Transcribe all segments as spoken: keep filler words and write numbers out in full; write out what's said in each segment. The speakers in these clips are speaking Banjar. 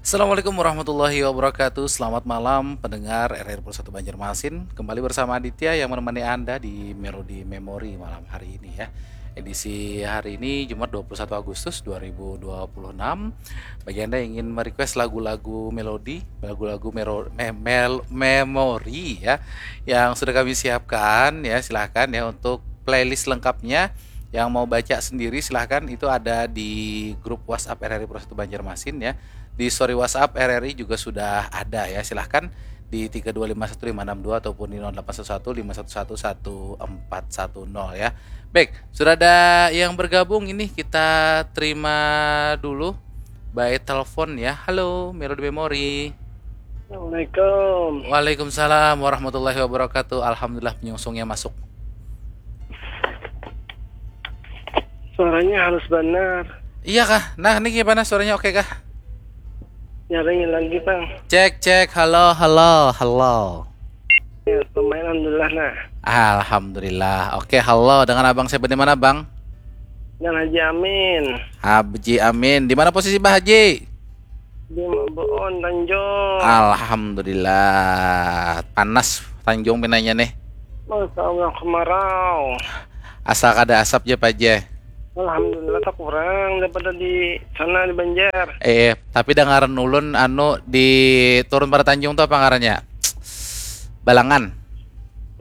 Assalamualaikum warahmatullahi wabarakatuh. Selamat malam pendengar R R I Pukul satu Banjarmasin. Kembali bersama Aditya yang menemani Anda di Melody Memory malam hari ini ya. Edisi hari ini Jumat dua puluh satu Agustus dua ribu dua puluh enam. Bagi Anda yang ingin merequest lagu-lagu melodi, lagu-lagu mero- me- mel- memory ya, yang sudah kami siapkan ya, silahkan ya untuk playlist lengkapnya. Yang mau baca sendiri silahkan, itu ada di grup WhatsApp R R I Pukul satu Banjarmasin ya. Di story WhatsApp R R I juga sudah ada ya. Silahkan di tiga dua lima satu lima enam dua ataupun di nol delapan satu satu lima satu satu satu empat satu nol ya. Baik, sudah ada yang bergabung ini, kita terima dulu by telepon ya. Halo, Melody Memory. Assalamualaikum. Waalaikumsalam warahmatullahi wabarakatuh. Alhamdulillah, penyungsungnya masuk. Suaranya halus benar. Iya kah? Nah, ini gimana, suaranya oke kah? Nyarinya lagi, Bang. Cek, cek. Halo, halo, halo. Ya, lumayan, alhamdulillah, nah. Alhamdulillah. Oke, halo. Dengan abang siapa, di mana, Bang? Dan Haji Amin. Haji Amin. Di mana posisi Bah Haji? Di Buun, Tanjung. Alhamdulillah. Panas Tanjung pinanya nih. Masya Allah, kemarau. Asal kada asap ja, Pak Jai. Alhamdulillah, tak kurang daripada di sana, di Banjar. Eh, tapi dangaran ulun anu di turun pada Tanjung tuh apa ngarannya? Balangan.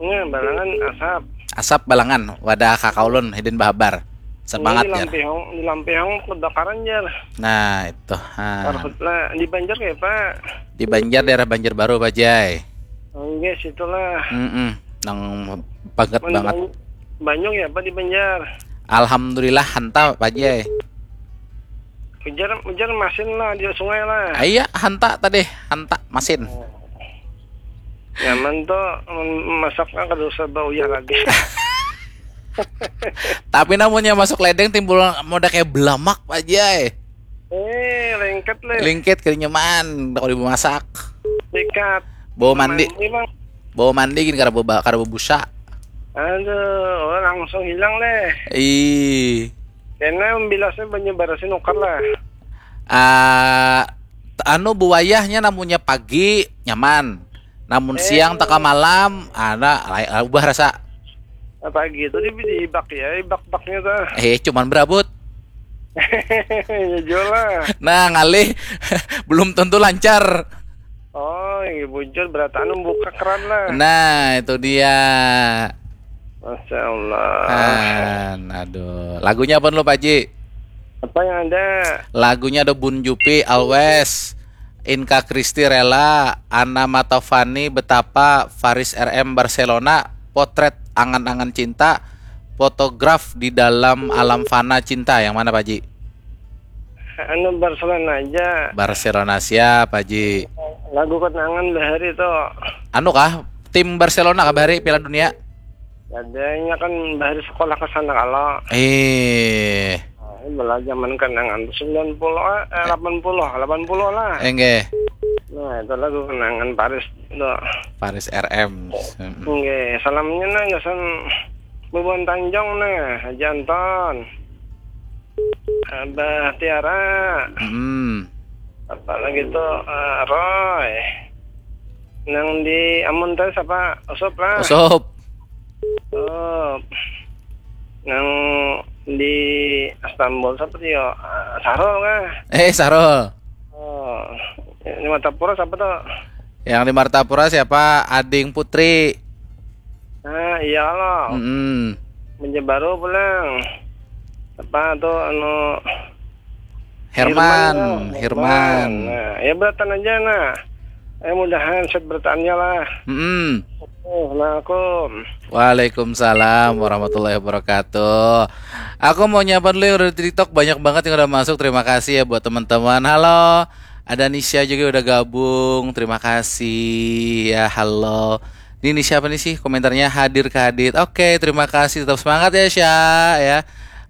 Nah, Balangan asap. Asap Balangan, wadah kakak ulun hidin bahabar. Semangat Di ya. Lampihong, di Lampihong kebakaran, Jar. Nah, itu. Ha. Karhutlah, di Banjar kayak, Pak? Di Banjar, daerah Banjarbaru, Pak Jai. Enggak, situlah. Mm-mm. Nang banget Mun banget. Ban- Banyak ya, Pak, di Banjar? Alhamdulillah, hanta, Pak Jai. Ujar, ujar masin lah di sungai lah. Iya, hanta tadi, hanta masin. Nyaman tuh, mun masaknya kada usah bauyah lagi. Tapi namunnya masuk ledeng timbul moda kayak belamak, Pak Jai. Eh, lengket leh. Lingkit kali nyaman, kalau dimasak. Sikat. Bawa mandi, Mandi, Bang. Bawa mandi gini, kada bawa, kada bawa busa. Aduh, oh, langsung hilang leh. Ih. Kena bilasnya banyu barasi nukar lah. Ah, t- anu, buayahnya namunnya pagi nyaman. Namun Eh. Siang teka malam, ada lai- ubah rasa. Apa gitu di, di bak ya, di bak-baknya tuh. Eh, cuman berabut. Ya jual lah. Nah, ngalih belum tentu lancar. Oh, yang bujur berataan membuka keran lah. Nah, itu dia. Masya Allah. Nah, aduh. Lagunya apa dulu, Pak Ji? Apa yang ada? Lagunya ada Bun Jupi, Always, Inka Kristi, Rela, Ana Matovani, Betapa, Faris R M, Barcelona, Potret, Angan-angan Cinta, Fotograf di Dalam Alam Fana Cinta. Yang mana, Pak Ji? Anu, Barcelona aja. Barcelona siap, Pak Ji. Lagu kenangan bahari tuh. Anu kah? Tim Barcelona kah bahari Piala Dunia? Adanya kan bahari sekolah ke sana kalau. Eh, Nah, ini malah zaman kenangan sembilan puluh, eh, delapan puluh, delapan puluh lah. enggak. Nah, itu lagu kenangan Paris tuh. Paris R M. Mm-mm. Oke, salamnya nah gasan Bubuhan Tanjung nah, Haji Anton. Abah Tiara. Mm-mm. Apa lagi tuh, eh, Roy. Nang di Amun tadi siapa? Usup lah. Usup. Usup. Nang di Istanbul siapa tuh yo? Eh, Sarul kah? Eh, Sarul. Oh, di Martapura siapa tuh? Yang di Martapura siapa? Ading Putri. Nah, iya loh. Mm-mm. Banjarbaru pulang. Apa tuh anu Herman, Herman, Herman. Nah, ya beratan aja nah. Eh, mudahan set berataannya lah. Mm-mm. Assalamualaikum. Waalaikumsalam warahmatullahi wabarakatuh. Aku mau nyapa dulu yang udah di TikTok, banyak banget yang udah masuk. Terima kasih ya buat teman-teman. Halo, ada Nisha juga udah gabung. Terima kasih ya. Halo. Ini, ini siapa nih sih komentarnya, hadir ke hadir. Oke, terima kasih, tetap semangat ya, Sya, ya.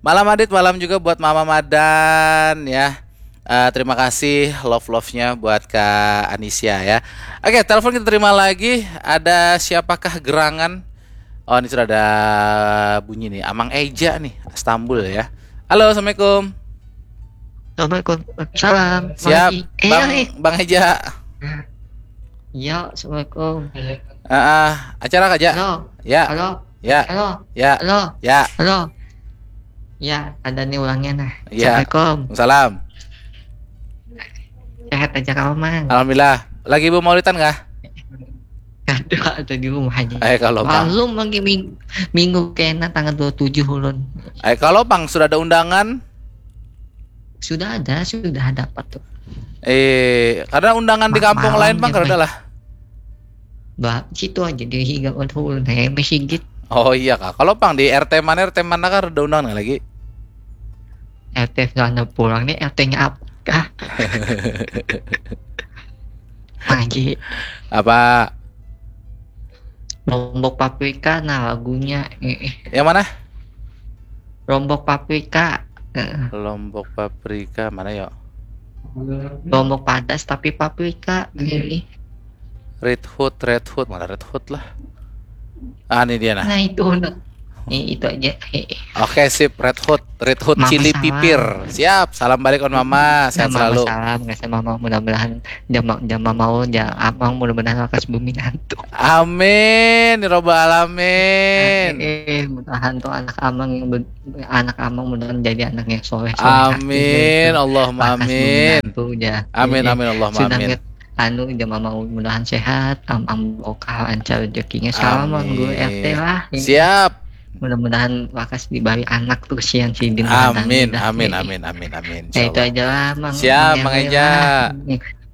Malam Adit, malam juga buat Mama Madan ya. Eh, terima kasih love-love-nya buat Kak Anisya ya. Oke, telepon kita terima lagi. Ada siapakah gerangan? Oh, ini sudah ada bunyi nih. Amang Eja nih, Istanbul ya. Halo, assalamualaikum. Assalamualaikum. Salam. Siap, Makasih. Eh, Bang eh. Bang Eja. Ya, assalamualaikum. Ah, ah, acara aja. Halo. Ya, Halo. ya, Halo. ya, Halo. ya. Ya, ada nih ulangnya nah. Ya. Assalamualaikum. Salam. Sehat aja kamu, Mang? Alhamdulillah. Lagi bemaulidan kah? Aduh, ada di rumah aja. Eh, kalau Bang. Malum lagi ming- minggu kena tanggal dua puluh tujuh ulun. Eh, kalau Bang sudah ada undangan? Sudah ada, sudah dapat tuh. Eh, karena undangan di Ma- kampung malam lain Bang juga. Kada lah. Bah, situ aja di higa ulun, eh, masjid. Oh iya kah. Kalau Bang di R T mana, R T mana kah ada undangan lagi? R T sana pulang nih, R T-nya apa kah? Lagi Apa? Lombok Paprika, nah, lagunya, eh, eh. Yang mana? Lombok Paprika. Eh, Lombok Paprika mana ya? Lombok Padas tapi Paprika. Eh, eh. Red Hood, Red Hood, mana Red Hood lah? Ah, ini dia nah. Nah, itu nah. Eh, itu aja. Eh, eh. Oke, sip, Red Hood, Red Hood Mama Chili salam. Pipir. Siap, salam balik on Mama, sehat Mama selalu. Salam, nggak sama Mama, mudah-mudahan jama jama mau ja amang, mudah-mudahan lakas bumi nantu. Amin, ya robbal alamin. Eh, eh, mudahan tuh anak amang yang ber- anak amang mudahan jadi anak yang soleh, soleh. Amin, Allahumma Lakas bumi amin. Nantu ja. Amin, Eh, eh. amin, Allahumma Sudah amin. nget- anu jama mau mudahan sehat, amang lokal lancar rezekinya. Salam Mang Guru Amin. R T lah. Siap. Mudah-mudahan lakas dibari anak tuh kesian sidin. Amin, Dah. amin, Eh, eh. Amin, amin, amin, amin. Ya, itu Insyaallah. Aja lah, Mang. Siap, Mang Mang Eja Eja. lah.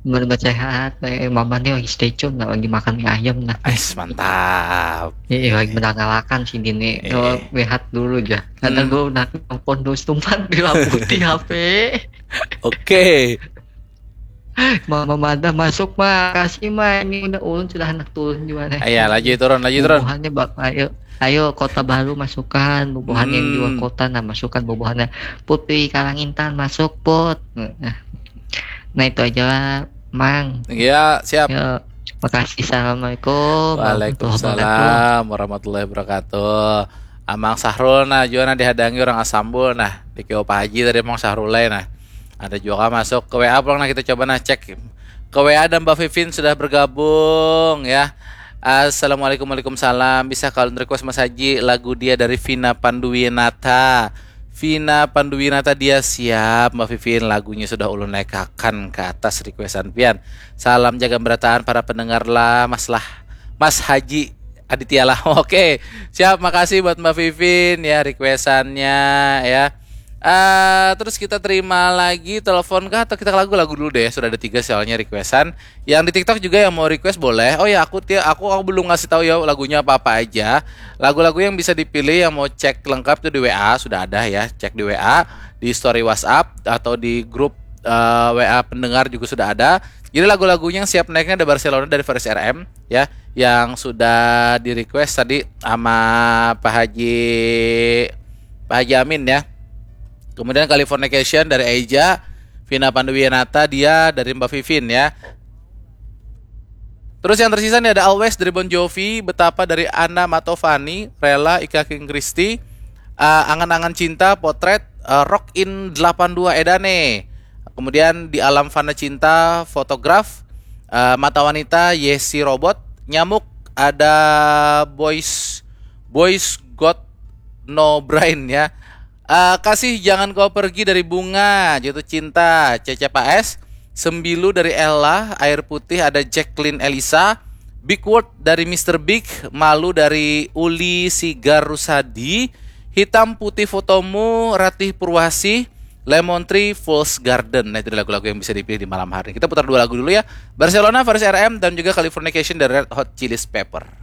Mudah-mudahan sehat. Eh, Mama nih lagi stay tune lah, lagi makan mie ayam nah. Ais, mantap. Iya, lagi menangalakan sini nih. Eh. Kalau rehat dulu aja. Karena Hmm. gue udah telepon terus tumpan bilang putih H P. Oke. Mama Mada masuk, Ma. Kasih, Ma. Ini udah ulun sudah anak turun juga nih. Iya, laju turun, laju turun. Bubuhannya bak ayo ayo Kota Baru masukan, bubuhan yang di luar Hmm. Kota nah masukan, bubuhannya Putri Karangintan masuk, Put. Nah, nah, itu aja lah, Mang. Iya, siap. Ya, makasih. Assalamualaikum warahmatullahi wabarakatuh. Waalaikumsalam warahmatullahi wabarakatuh. Amang Sahrul nah juga nah dihadangi orang Asambul nah. Di K O Pak Haji tadi Amang Sahrul lah nah. Ada juga masuk ke W A pulang nah, kita coba nah cek. Ke W A dan Mbak Vivin sudah bergabung ya. Assalamualaikum, waalaikumsalam. Bisa kalian request Mas Haji lagu dia dari Vina Panduwinata. Vina Panduwinata dia siap Mbak Vivin, lagunya sudah ulun naikakan ke atas requestan pian. Salam jaga berataan para pendengar lah Mas lah. Mas Haji Aditya lah. Oke, siap, makasih buat Mbak Vivin ya requestannya ya. Eh, terus kita terima lagi telepon kah atau kita lagu-lagu dulu deh? Sudah ada tiga soalnya requestan. Yang di TikTok juga yang mau request boleh. Oh ya, aku ti- aku aku belum ngasih tahu ya lagunya apa-apa aja. Lagu-lagu yang bisa dipilih yang mau cek lengkap tuh di W A sudah ada ya. Cek di W A, di story WhatsApp atau di grup eh, W A pendengar juga sudah ada. Jadi lagu-lagunya yang siap naiknya ada Barcelona dari Faris R M ya, yang sudah di request tadi sama Pak Haji Pak Haji Amin ya. Kemudian Californication dari Eja, Vina Panduwinata dia dari Mbak Vivin ya. Terus yang tersisa nih ada Always dari Bon Jovi, Betapa dari Anna Matovani, Rela, Ika King Christie, uh, Angan-angan Cinta, Potret, uh, Rock in delapan dua Edane. Kemudian Di Alam Fana Cinta, Fotograf, uh, Mata Wanita, Yesi Robot, Nyamuk, ada Boys Boys Got No Brain ya. Uh, Kasih Jangan Kau Pergi dari Bunga, Jatuh Cinta, Cecep A S, Sembilu dari Ella, Air Putih ada Jacqueline Elisa, Big Word dari Mister Big, Malu dari Uli Sigar Rusadi, Hitam Putih Fotomu Ratih Purwasih, Lemon Tree, Fool's Garden. Nah, itu lagu-lagu yang bisa dipilih di malam hari. Kita putar dua lagu dulu ya. Barcelona, Faris R M, dan juga Californication dari Red Hot Chili Pepper.